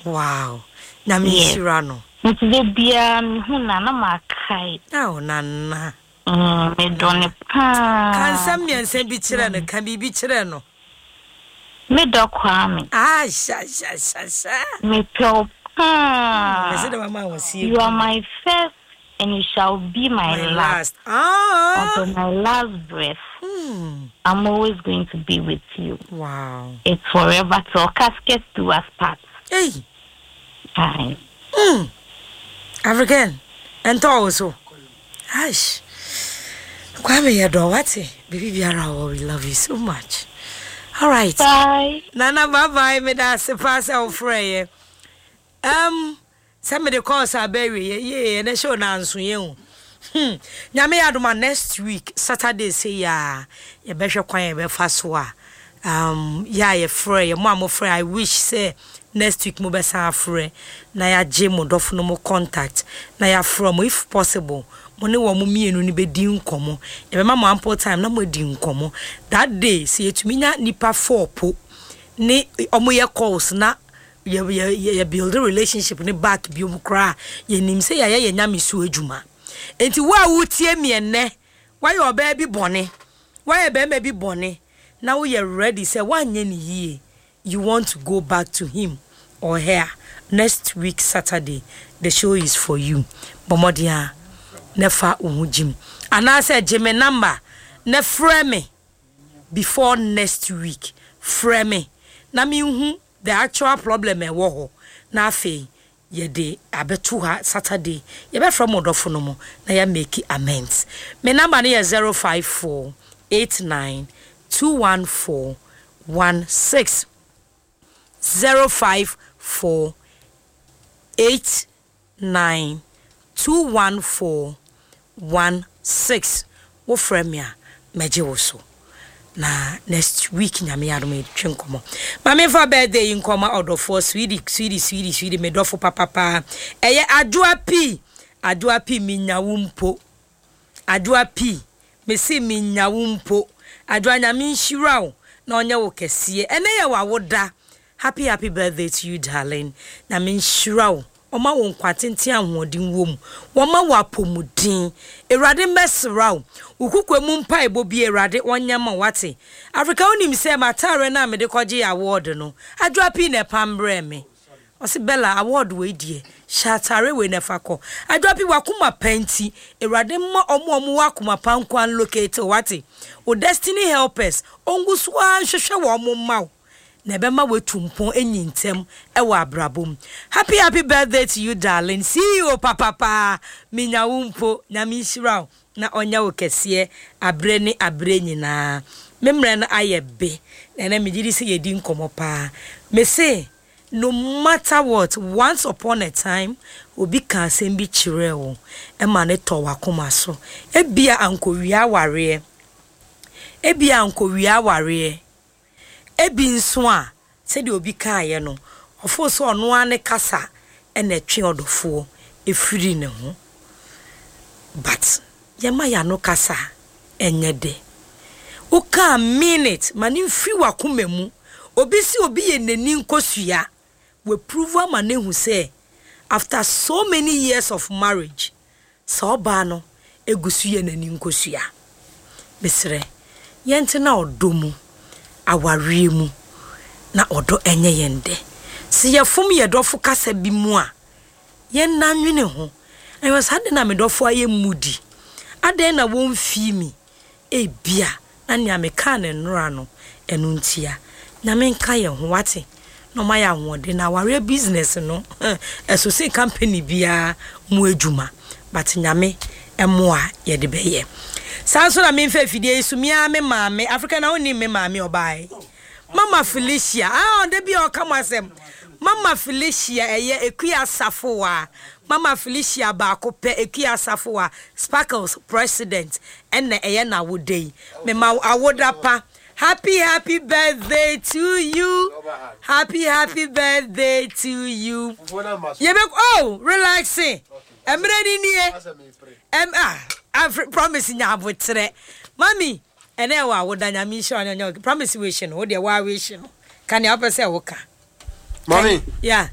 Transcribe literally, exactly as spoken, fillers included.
Wow, Nyame Yes. nhyira no. Nti da biara mehu na na makae. Ao, Nana. Mm, medɔ ne paa. Ka nsɛm mmiɛnsa bi kyerɛ no, ka biribi kyerɛ no. Medɔ Kwame. Ah, sha sha sha sha. Mepɛ wo paa. Mɛsɛ dɛ mama wo sie. You are my first and you shall be my, my last. Last. Ah. Until my last breath, Hmm. I'm always going to be with you. Wow. It's forever till casket do us part. Hey. Aye. Mm. African. Ɛntɔ wo so. Ash. Kwame, yɛdɔ, wate. Bibi biara wɔ, we love you so much. All right. Bye. Nana, bye bye. Meda ase paa sɛ wofrɛ yɛ. Um, sɛ mede calls aba awie yɛ yie, ɛnɛ show na nso yɛ o. Hmm. Nyame yɛ adom a, next week Saturday sɛ yɛ a, yɛbɛhwɛ kwan yɛbɛfa so a um, yɛ a yɛfrɛ yɛ mo a mofrɛ, I wish sɛ next week mobɛsan afrɛ na yɛagye mo dɔfo no mo contact na yɛafrɛ mo. If possible, mo ne wɔn mo mmienu no bɛdi nkɔmmɔ. Yɛbɛma mo ample time na moadi nkɔmmɔ that day. Sɛ yɛtumi nya nipa four po ne ɔmo yɛ calls na yɛ yɛ yɛ yɛ build relationship ne back biom koraa, yɛnim sɛ yɛayɛ yɛ Nyame so adwuma. Nti wo a wotie miɛnɛ, woayɛ ɔbaa bi bɔne, woayɛ bɛrima bi bɔne, na woyɛ ready sɛ woanyɛ ne yie, you want to go back to him or her, next week Saturday the show is for you. Bɔ mmɔden a na fa wo ho gyim anaasɛ gye me number na frɛ me before next week. Frɛ me na menhu the actual problem ɛwɔ hɔ, na afei yɛde abɛto ha. Saturday yɛbɛfrɛ mo dɔfo no mu na yɛamake amends. Me number no yɛ zero five four eight nine two one four one six, zero five four eight nine two one four one six. Wofrɛ me a, mɛgye wo so. Na next week, Nyame adom, yɛtwe nkɔmmɔ. Ma memfa birthday yi nkɔma ɔdɔfoɔ Swedi, Swedi, Swedi, Swedi, medɔfo papapaa, ɛyɛ Adwoa Pii. Adwoa Pii, menya wo mpo. Adwoa Pii, mese menya wo mpo. Adwoa, Nyame nhyira wo na ɔnyɛ wo kɛseɛ. Ɛnɛ yɛ w'awoda. Happy happy birthday to you, darling. Nyame nhyira wo, ɔma wo nkwa tenten, ahoɔden wɔ mu, wɔma wo apɔmuden. Awurade mmɛsra wo, wo kukua mu mpaebɔ bi Awurade ɔnyɛ ma wate. Africa, wonim sɛ m'ataare no a mede kɔgye award no, Adwoa Pii na ɛpam brɛ me. Ɔse, "Bella, award wei deɛ, hyɛ atare wei na ɛfa kɔ." Adwoa Pii, wakoma pa nti, Awurade mma ɔmo a ɔmo wɔ akoma pa nko allocate. Wate, wo destiny helpers ɔngu so ara nhwehwɛ wɔn mo mma wo na ɛbɛma woatu mpɔn enyi ntɛm ɛwɔ abrabɔ mu. Happy happy birthday to you, darling. C E O papapaa, minya wo mpo. Nyame nhyira wo na ɔnyɛ wo kɛseɛ aberɛ ne aberɛ nyinaa. Me mmerɛ no ayɛ be na ɛnɛ megye di sɛ yɛdi nkɔmmɔ paa. Me se no matter what, once upon a time obi ka asɛm bi kyerɛɛ wo ɛma ne tɔ w'akoma so. Ebia ankɔwia awareɛ, ebia ankɔwia awareɛ, ebi nso a sɛdeɛ obi kaeɛ no, ɔfo sɛ ɔno ara ne kasa ɛna ɛtwe ɔdɔfoɔ efiri ne ho. But yɛma yɛano kasa ɛnyɛ dɛ. Wokaa, mean it, ma ne mfiri w'akoma mu. Obi si obi yɛ n'ani nkosua, waprove ama ne hu sɛ after so many years of marriage, sɛ ɔbaa no egu so yɛ n'ani nkosua. Mesrɛ, yɛntena ɔdɔ mu, awareɛ mu, na ɔdɔ ɛnyɛ yɛn dɛ. Sɛ yɛfom yɛ dɔfo kasa bi mu a, yɛnna nwene ho ɛwɔ saa de na me dɔfo ayɛ mudi adɛn na wɔmfii mi. Ebia na nea meka ne nnora no ɛno ntia. Nyame nka yɛn ho, wate, na ɔma yɛ ahoɔden na awareɛ business no ɛso sen company biara mu adwuma, but Nyame ɛmoa yɛde bɛyɛ saa nso. Na memfa afidie yi so mea me maame Africa na wonim me maame ɔbae, Mama Felicia. Ah, ɔda bi a ɔka mo asɛm, Mama Felicia, ɛyɛ Ekua Asafoa. Mama Felicia baako pɛ, Ekua Asafoa, Sparkles president, ɛna ɛyɛ n'awoda yi. Mema awoda pa. Happy happy birthday to you, happy happy birthday to you. Yɛbɛ oh, relaxing, mmerɛ ni nie. ɛm ah afri Promise nya abotrɛ. Mami, ɛnɛ ɛwɔ awoda. Nyame nhyira wo. Nyɛ Promise wish no, wo deɛ waa wish no ka nea wopɛ sɛ woka. Mami. Yeah.